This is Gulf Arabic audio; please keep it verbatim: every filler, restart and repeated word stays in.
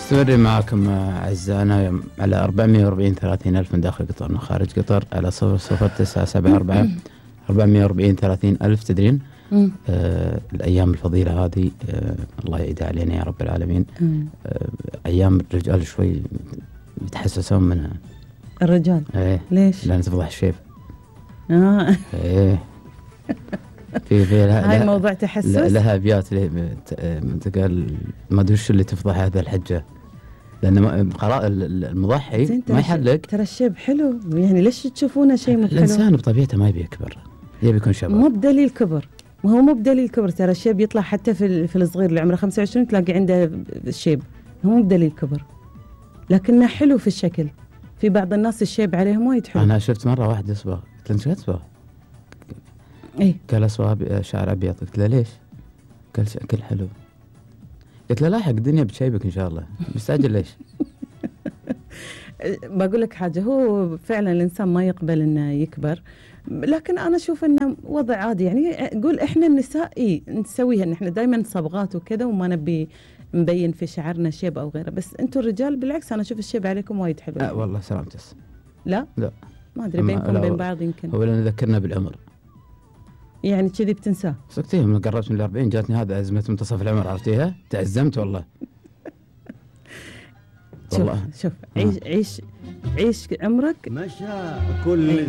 مستمرين معكم أعزائنا على أربعمية وأربعين ثلاثين ألف من داخل قطر وخارج قطر على صفر صفر تسعة سبعة أربعة أربعمية وأربعين ثلاثين ألف. تدرين آه الأيام الفضيلة هذه آه الله يعيدها علينا يا رب العالمين. آه أيام الرجال شوي يتحسسون منها. الرجال ايه ليش؟ لأن تفضح الشيب. اه ايه في في هاي موضوع تحسس. لها أبيات تقال ما أدري شو اللي تفضح هذا الحجة، لأن قراء المضحي ما يحلق. ترى الشيب حلو، يعني ليش تشوفونه شيء مو حلو؟ الإنسان بطبيعته ما يبي يكبر، يبي يكون شباب. مو بدليل كبر، ما هو مو بدليل كبر. ترى الشيب يطلع حتى في في الصغير اللي عمره خمسة وعشرين تلاقي عنده الشيب، هو مو بدليل كبر، لكنه حلو في الشكل. في بعض الناس الشيب عليهم وايد حلو. أنا شفت مرة واحد يصبغ، قلت له شو تصبغ؟ إيه قال أصبغ شعر أبيض. قلت له ليش؟ قال شكل حلو. قلت له لاحق الدنيا بتشيبك إن شاء الله، مستعجل ليش؟ بقول لك حاجة، هو فعلا الإنسان ما يقبل إنه يكبر، لكن أنا أشوف إنه وضع عادي. يعني أقول إحنا النساء إيه نسويها، إن إحنا دايما صبغات وكذا وما نبي مبين في شعرنا شيب أو غيره، بس أنتوا الرجال بالعكس أنا أشوف الشيب عليكم وايد حلو. أه والله سلامتس. لا لا ما أدري بينكم بين بعض يمكن. هو لأن ذكرنا بالعمر، يعني كذي بتنساه. سكتيه من قربت من الأربعين جاتني هذا أزمة منتصف العمر، عرفتيها؟ تعزمت والله. شوف شوف عيش عيش عيش عمرك مشى كل